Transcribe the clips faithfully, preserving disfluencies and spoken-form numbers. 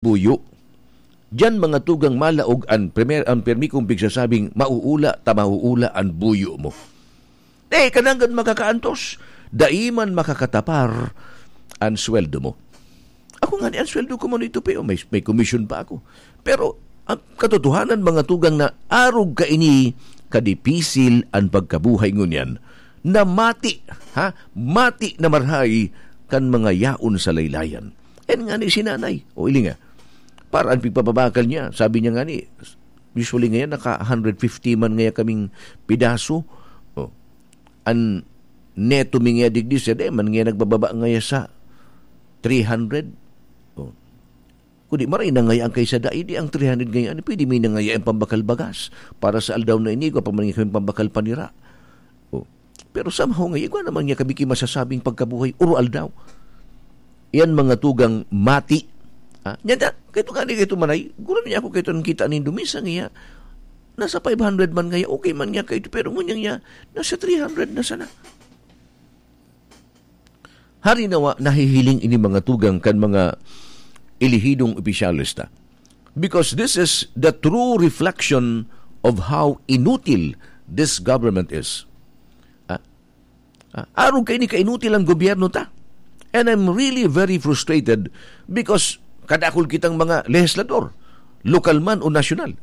buyo. Diyan mga tugang malaog an primer-, ang permi kong pigsasabing, "Mauula ta mauula an buyo mo." Eh, kananggad makakaantos, dai man makakatapar an sweldo mo. Ako nga ni, ang sweldo ko man ito, pero may, may komisyon pa ako. Pero, ang katotohanan, mga tugang, na arog kaini kadipisil an pagkabuhay ngunyan, na mati, ha? Mati na marhay kan mga yaon sa laylayan. Yan nga ni si nanay. O, ili nga. Para ang pigpapabakal niya, sabi niya nga ni, usually ngayon, naka hundred fifty man ngaya kaming pidaso. O, an neto mi ngaya digdi, siya di man ngaya nagbababa ngaya sa three hundred. O. Kundi maray na ngaya ang kaysa dai, di ang three hundred ngaya, ano, pwede mi na ngaya ang pambakal bagas para sa aldaw na ini, igwa pa man ngaya kami pambakal panira. O. Pero somehow nga, igwa naman niya kami ki masasabing pagkabuhay, uro-aldaw. Yan mga tugang mati. Ha? Yan na, kaya ito gani, kaya ito manay, guro niya ako, kaya ito nang kita nindo, minsan nga, nasa five hundred man ngaya, okay man niya kaya ito, pero ngunyan niya, nasa three hundred na sana. Hari nawa, nahihiling ini mga tugang kan mga elihidong opisyales ta. Because this is the true reflection of how inutil this government is. Ah, ah, arog kaini kainutil ang gobyerno ta. And I'm really very frustrated because kadakul kitang mga legislador, lokal man o nasyonal.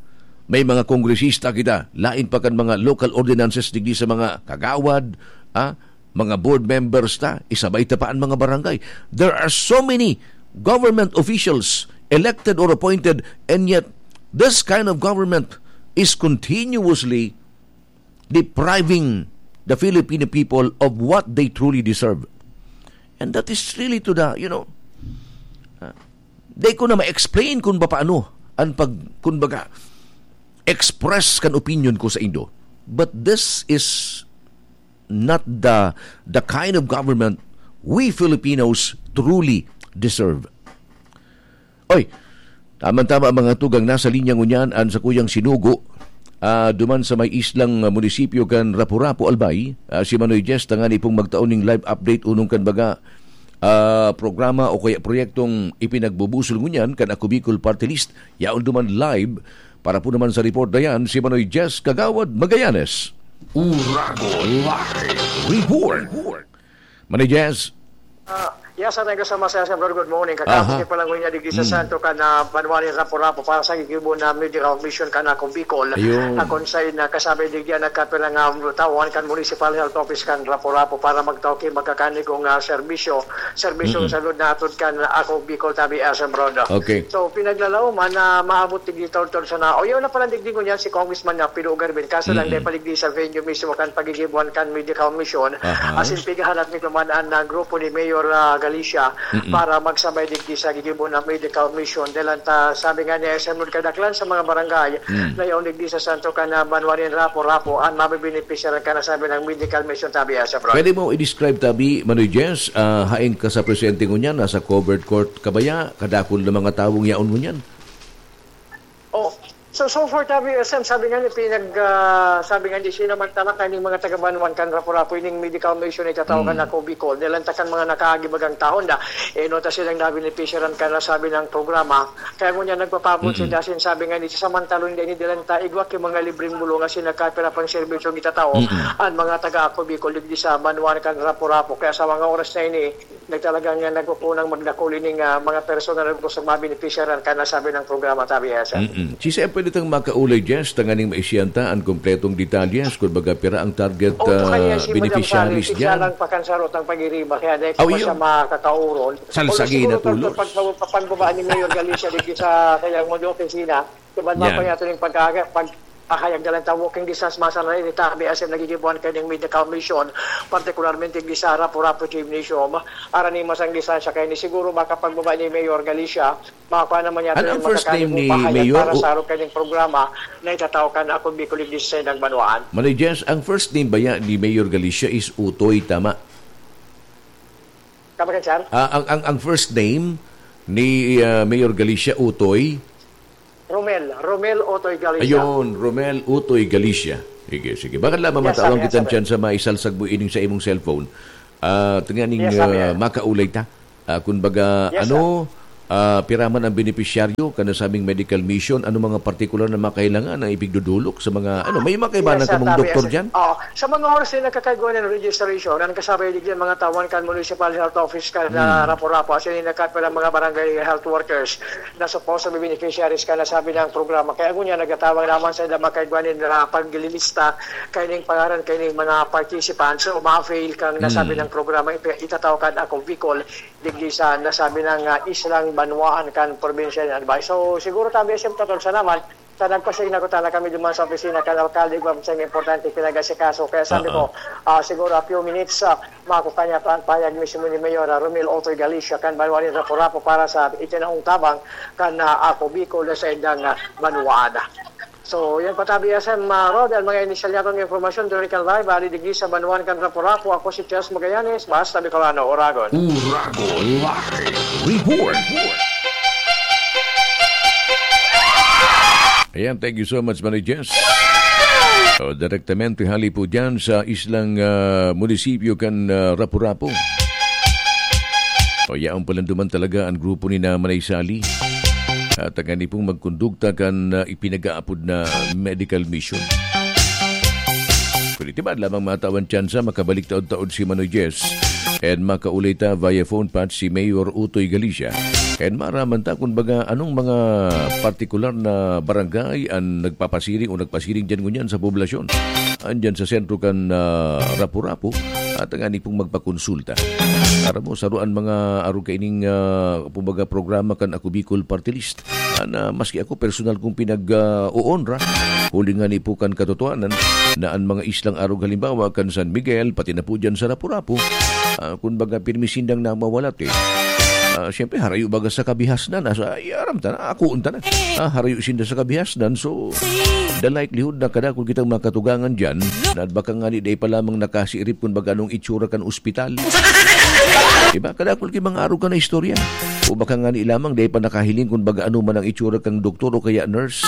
May mga kongresista kita, lain pa kan mga local ordinances digdi sa mga kagawad, ah, mga board members ta, isabay ta pa an mga barangay. There are so many government officials, elected or appointed, and yet this kind of government is continuously depriving the Filipino people of what they truly deserve. And that is really to the, you know, uh, di ko na ma-explain kung paano ang pag, kumbaga, express kan opinion ko sa indo. But this is not the, the kind of government we Filipinos truly deserve. Oy, tamang-tama, mga tugang, nasa linya ngunyan an sakuyang sinugo, ah, duman sa may islang, ah, munisipyo kan Rapu-Rapu, Albay, ah, si Manoy Jess, tanganing pong magtao ning live update unong kan baga, ah, programa o kaya proyektong ipinagbubusol ngunyan kan Ako Bicol Party List. Yaon duman live para po naman sa report na yan, si Manoy Jess Kagawad Magallanes. Uragon Live Report. Manoy Jess. Ah, yes, thank you so much, Sir Bro. Good morning. Kakapos Aha. pa lang niya digdi sa Mm. Santo kan, ah, banwa nin Rapu-Rapu para sa gigibo na medical mission kan Ako Bicol. Ayun. Na kung saan na kasabay digdi ang nagkapirang, um, tawan kan Municipal Health Office kan Rapu-Rapu para magtao ki magkakanigong, ah, serbisyo. Serbisyo Mm-mm. sa lud na atod kan Ako Bicol tabi, ah, Sir Bro. Okay. So, pinaglalaoman na maabot digdi tawtol sa na. O, yun na pala digdi ngunyan si Congressman na Pido Garvin. Kaso lang, Mm-mm. dahil paligdi sa venue mismo kan pagigibuan kan medical mission, Aha. asin pigahalat mi duman an, ah, grupo ni Mayor, ah, Galicia Mm-mm. para magsabay digdi sa gigibo na medical mission. Dahil ang ta, sabi nga ni S M Lord, kadaklan sa mga barangay Mm. na yaon digdi sa Santo kan, ah, banwa nin Rapu-Rapu, an mabibenepisyaran kan nasabi ng medical mission tabi, ah, sa Bro. Pwede mo i-describe tabi, Manoy Jess, ah, haen ka sa presente ngunyan, nasa covered court ka baya, kadakul na mga tawong yaon ngunyan? Oh, so, so far, tabi, S M, sabi nga ni pinag, ah, sabi nga ni sinamantala kaning mga taga-Banwan kan Rapu-Rapu ining medical mission na itatao kan Mm. Ako Bicol. Dahil ang takan mga nakaagi bagang taon na, eh, no, ta silang nabenepisyaran kan nasabi ng programa. Kaya ngunyan nagpapabot Mm-mm. sila, sin sabi nga ni, samantalon din, dilan ta, igwa ki mga libreng bulong asin nagkapira pang serbisyo itatao Mm-mm. ang mga taga Ako Bicol digdi sa Banwan kan Rapu-Rapu. Kaya sa mga oras na ini, nagtalaga nga nagpupunang magdakul ining, ah, mga personal na gustong mabenepisyaran kan nasabi ng programa, tabi, S M. Mm-mm. Si Sir, pwede tang makaulay, Jess, tanganing maisyan ta an kompletong detalyes, kung baga pira ang target, O, ah, kaya si Madam beneficiaries Sally, siya dyan? lang pakansarot ang pagiriba, kaya dahil Aw, pa siya yun. makakauron. Salsagi Although na siguro, tulos. pag, pag, pagbaba ni Mayor Galicia dito sa kanyang mga opisina, diba, Yan. mapayat rin pagka-, pag-, ahayag na lang ta, walking distance, masa na rin, tabi, as in, nagigibuan kayo ng medical mission, partikularmente di sa Rapu-Rapu Gymnasium. Aran ni masang distansya kayo ni siguro makapagbaba ni Mayor Galicia, makakuha naman yata Ano ng ang first name makakalimong ni pahayag Mayor para U- sa araw kanyang programa na itatao kan Akong Bicol Iglesia sa Banwaan. Manoy Jess, ang first name baya ni Mayor Galicia is Utoy, tama? Tama ka, sir? Ah, ang, ang, ang first name ni, ah, Mayor Galicia, Utoy? Romel, Romel Utoy Galicia. Ayun, Romel Utoy Galicia. Sige, sige. Baka lamang Yes, sir. matawag Yes, kitang sir. tsansa maisalsag mo ining sa imong cellphone. Ah, tingnan ning, Yes, sir. ah, makaulay ta. Ah, kun baga, Yes, ano, Ah, pira man ang benepisyaryo kan nasabing medical mission? Ano mga partikular na mga kailangan ang ipigdudulok sa mga, ano, may mga kaibahan Yes, sir, kamong tama, doktor yes, sir. dyan? Oo. Sa mga oras na nagkakaigwa ng registration, ang kasabay digdi ang mga tawan kan municipal health office kan, ah, Hmm. Rapu-Rapu, as in, nagkat pa ng mga barangay health workers na supposed to be beneficiaries kan nasabing programa. Kaya ngunyan, nagtatawag naman sa mga kaigwa nin, ah, paglilista kaining pangaran, kaining mga participants o ma-avail kan nasabing Hmm. programa, ipi-, itatao kan Ako Bicol. Digdi sa nasabing, ah, islang banwaan kan probinsya niyan. Ba? So, siguro tabi, siyempre, totoo sa naman, sa nagpasig na ko, tana kami duman sa opisina kan alkalde, igwa pa siyang importante pinagasikaso. Kaya sabi Oo. ko, ah, siguro a few minutes, ah, makukuha niya pa ang payag mismo ni Mayor, ah, Romel Otoy Galicia, kan banwaan ni Rapu-Rapu para sa itinaong tabang kan, ah, Ako Bicol sa indang, ah, banwaan. So, yan pa tabi, S M, ah, Rod, ang mga inisyal niya kong impormasyon, Dorical Live, ali digdi sa banwaan kan Rapu-Rapu. Ako si Chas Magallanes, basta Bicolano, Oragon. Oragon Live Report. Ayan, thank you so much, Manay Jess. O, direktamente hali po dyan sa islang, ah, munisipyo kan, ah, Rapu-Rapu. O, yaon palan duman talaga ang grupo ni na Manay Sally. At ang ani pong magkondukta kan, ah, ipinag-aapod na medical mission. Pwede ba lamang matawan tsansa makabalik taod-taod si Manoy Jess? And makaulay ta via phone patch si Mayor Utoy Galicia. And maraman ta kung baga anong mga partikular na barangay ang nagpapasiring o nagpasiring dyan ngunyan sa poblasyon. Andyan sa sentro kan, ah, Rapu-Rapu at ang ani pong magpakonsulta. Aram mo, saruan mga arog kaining, ah, kumbaga, programa kan Ako Bicol Party List. Ah, na maski ako personal kong pinag, ah, oonra, huli nga ni po kan katotohanan na ang mga islang arog, halimbawa, kan San Miguel, pati na po dyan sa Rapu-Rapu, ah, kun baga, pirmi sindang namawalat eh. Ah, siyempre, harayo baga sa kabihasnan, nasa, ay, aram ta na, akoon ta na. Ah, harayo sinda sa kabihasnan, so, the likelihood na kadakul kitang makatugangan dyan, na baka nga ni dai pa lamang nakasirip kung baga anong itsura kan ospital. Diba? Kadakul ki mga arog ka na istorya. O baka nga ni lamang, dai pa nakahiling kung baga ano man ang itsura kang doktor o kaya nurse.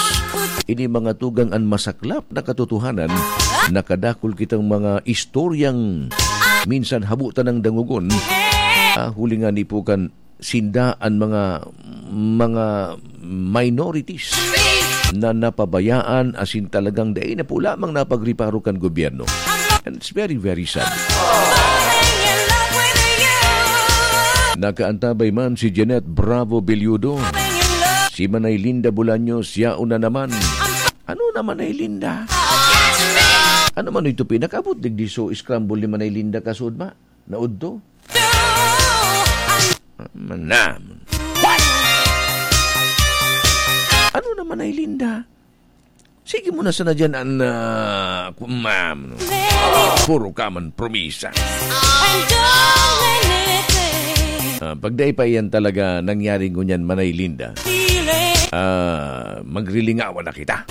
Ini mga tugang an masaklap na katotohanan, nakadakul kitang mga istoryang minsan habo tanang dangogon. Ah, huli nga ni po kan sinda an mga, mga minorities na napabayaan, asin talagang dai na po lamang napagreparo kan gobyerno. And it's very, very sad. Nakaantabay man si Jeanette Bravo Belludo. Si Manay Linda Bolaños, yaon na naman. Ano na, Manay Linda? Ano man ito, pinakabot digdi so scramble ni Manay Linda kasud ba? Naudto? Manam. Ano na, Manay Linda? Sige mo na sana dyan, an, ah, ku-, ma'am, no? Puro ka man promisa. Ah, pag dai pa iyan talaga nangyari ngunyan, Manay Linda, ah, magrilingawan na kita.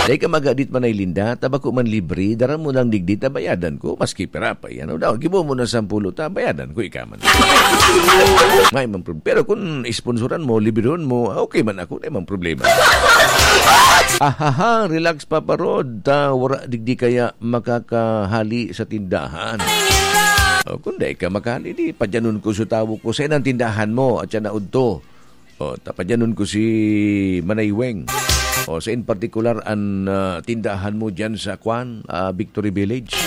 Dai ka magadit, Manay Linda, ta bako man libre, dara mo lang digdi ta bayadan ko, maski pira pa yan. O daw, gibo mo na sampulo ta, bayadan ko ika man. May man prob-, pero kung isponsoran mo, libreon mo, okay man ako, may man problema. Ahaha, relax, Papa Rod, ta wara digdi kaya makakahali sa tindahan. O, kung dai ka makahali, di, padyanon ko sa tawo ko, sa inang tindahan mo, at siya naudto. O, tapadyanon ko si Manay Weng. O, sa in particular, an, ah, tindahan mo dyan sa kwan, ah, Victory Village.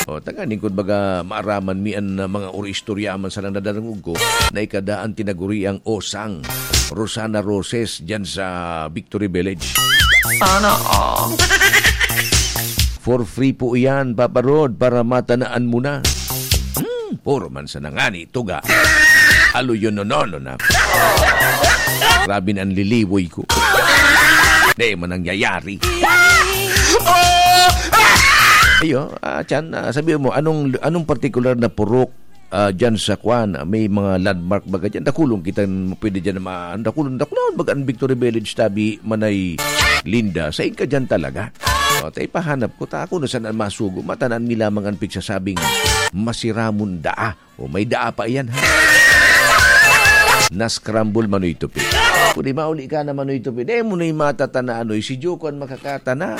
O, tanganing kun baga maaraman mi an, ah, mga uri istorya man sa lang nadarangog ko na ikadaan tinaguriang osang Rosana Roses dyan sa Victory Village. Sana all. For free po iyan, Papa Rod, para matanaan mo na. Hmm, puro man sa nangani, tuga. Alo yun, no, no, no, na. Grabe na ang liliwoy ko. Di man nangyayari. Ayo, ah, Chan, ah, sabi mo, anong, anong partikular na purok, ah, dyan sa kwan? May mga landmark ba ka dyan? Dakulong kita, pwede dyan na ma-, dakulong, dakulong, baga ang Victory Village, tabi, Manay Linda. Sain ka dyan talaga? O, ta ipahanap ko, ta ako na sana masugo. Matanan mi lamang ang pigsasabing masiramon daa. O, may daa pa iyan, ha? Na-scramble, Manoy Tupi. Kung di mauli ka na, Manoy Tupi, di mo na yung matatana, ano, si Joko ang makakatana.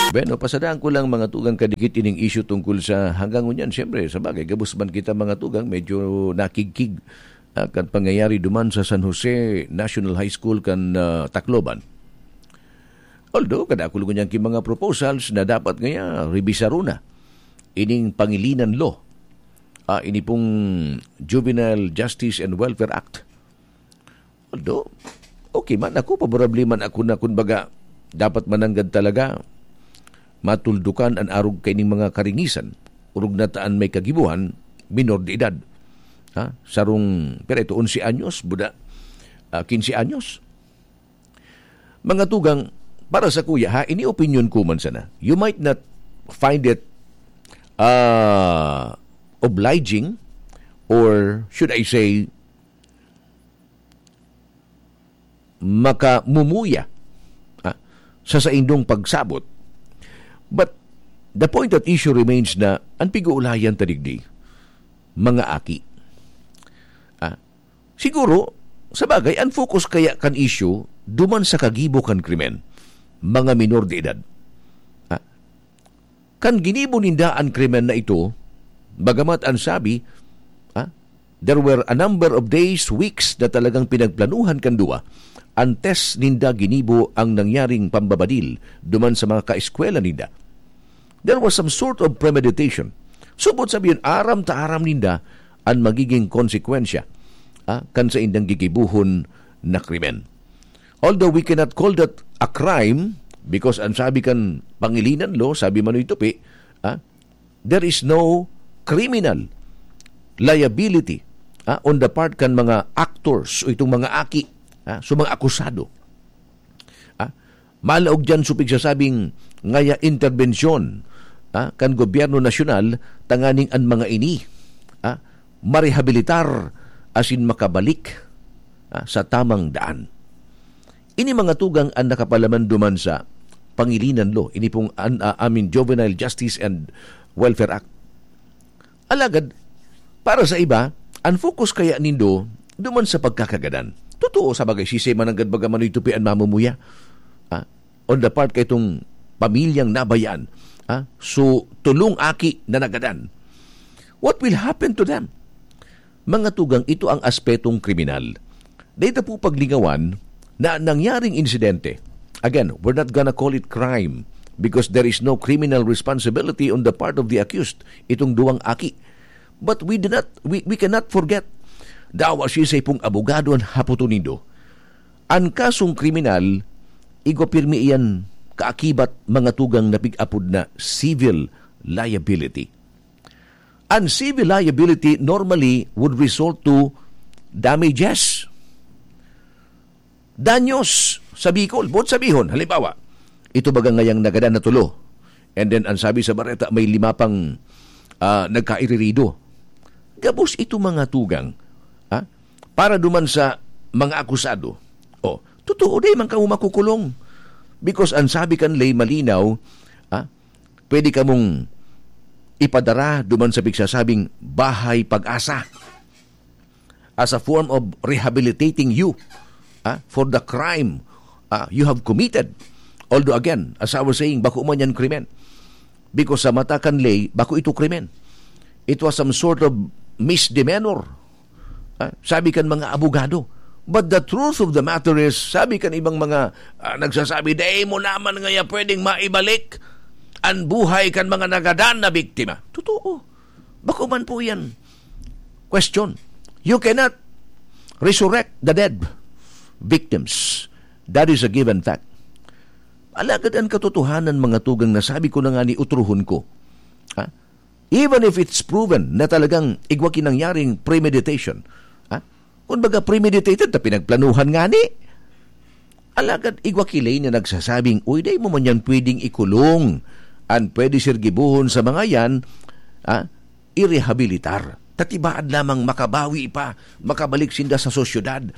Bueno, pasadaan ko lang mga tugang kadikit ining issue tungkol sa hanggang ngunyan. Siyempre, sa bagay, gabos man kita mga tugang, medyo nakigkig ah, kan pangyayari duman sa San Jose National High School kan ah, Tacloban. Although, kadakul ngunyan ki mga proposals na dapat ngaya rebisaron na ining pangilinan law, ah, ini pong Juvenile Justice and Welfare Act. Although, okay man ako, paborable man ako na, kumbaga, dapat mananggad talaga matuldukan an arog kaining mga karingisan, orog na ta an may kagibohan, minor de edad. Ha? Sarong, pero ito, onse anyos, buda, ah, quince anyos. Mga tugang, para sa kuya, ha, ini opinion ko man sana. You might not find it ah, obliging, or should I say, makamumuya, ah, sa saindong pagsabot. But the point at issue remains na an pig-uulayan ta digdi, mga aki. Ah, siguro, sa bagay, an focus kaya kan issue duman sa kagibo kan krimen, mga minor de edad. Ah, kan ginibo ninda an krimen na ito, bagamat an sabi, ah, there were a number of days, weeks na talagang pinagplanuhan kan duwa, antes ninda ginibo ang nangyaring pambabadil duman sa mga kaeskwela ninda. There was some sort of premeditation. Supot sabihin, aram ta aram ninda an magiging konsekwensya, ah, kan saindang gigibohon na krimen. Although we cannot call that a crime, because ang sabi kan Pangilinan Law, sabi Manoy Tupi, ah, there is no criminal liability, ah, on the part kan mga actors o itong mga aki, ah, so mga akusado. Ah, malaog diyan so pigsasabing ngaya interbensyon, ah, kan gobyerno nasyonal tanganing an mga ini, ah, marehabilitar asin makabalik, ah, sa tamang daan. Ini mga tugang an nakapalaman duman sa Pangilinan Law, ini pong an, ah, I mean, Juvenile Justice and Welfare Act. Alagad, para sa iba, ang focus kaya nindo duman sa pagkakagadan. Totoo, sa bagay, sisay mananggad baga Manoy Tupi an mamumuya. Ah, on the part kaitong pamilyang nabayaan. Ah, so, tulong aki na nagadan. What will happen to them? Mga tugang, ito ang aspetong kriminal. Dahil ta po paglingawan na nangyaring insidente. Again, we're not gonna call it crime because there is no criminal responsibility on the part of the accused, itong duwang aki. But we do not, we, we cannot forget, dawa siisay pong abogado an hapoton nindo. An kasong kriminal, igwa pirmi iyan kaakibat mga tugang na pig-apod na civil liability. An civil liability normally would result to damages. Danyos sa Bicol. Buot sabihon, halimbawa, ito baga ngayang nagadan na tulo. And then, ang sabi sa bareta, may lima pang, ah, nagkairirido. Gabos ito mga tugang, ha? Para duman sa mga akusado. Oh, totoo, dai man kamo makukulong. Because ang sabi kan ley malinaw, ha? Pwede kamong ipadara duman sa pigsasabing Bahay Pag-asa as a form of rehabilitating you, ah, for the crime, ah, you have committed. Although again, as I was saying, bako man yan krimen. Because sa mata kan ley, bako ito krimen. It was some sort of misdemeanor. Ah, sabi kan mga abogado. But the truth of the matter is, sabi kan ibang mga, ah, nagsasabi, "Dai mo naman ngaya pwedeng maibalik an buhay kan mga nagadan na biktima." Totoo. Bako man po yan. Question. You cannot resurrect the dead victims. That is a given fact. Alagad an katotohanan, mga tugang, na sabi ko na nga ni utrohon ko. Ha? Even if it's proven na talagang igwa ki nangyaring premeditation. Ha? Kung baga premeditated, ta pinagplanuhan nga ni. Alagad igwa ki ley na nagsasabing, "Uy, dai mo man yan pwedeng ikulong. An pwede sir gibohon sa mga yan, ah, irehabilitar. Tatibaad lamang makabawi pa, makabalik sinda sa sosyedad,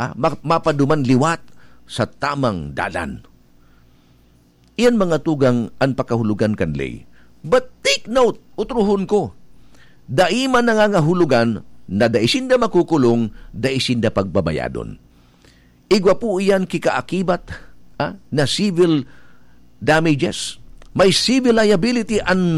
ah, ma-, mapaduman liwat sa tamang dalan." Iyan mga tugang an pakahulogan kan ley. But take note, utrohon ko, dai man nangangahulogan na dai sinda makukulong, dai sinda pagbabayadon. Igwa po iyan ki kaakibat, ah, na civil damages. May civil liability an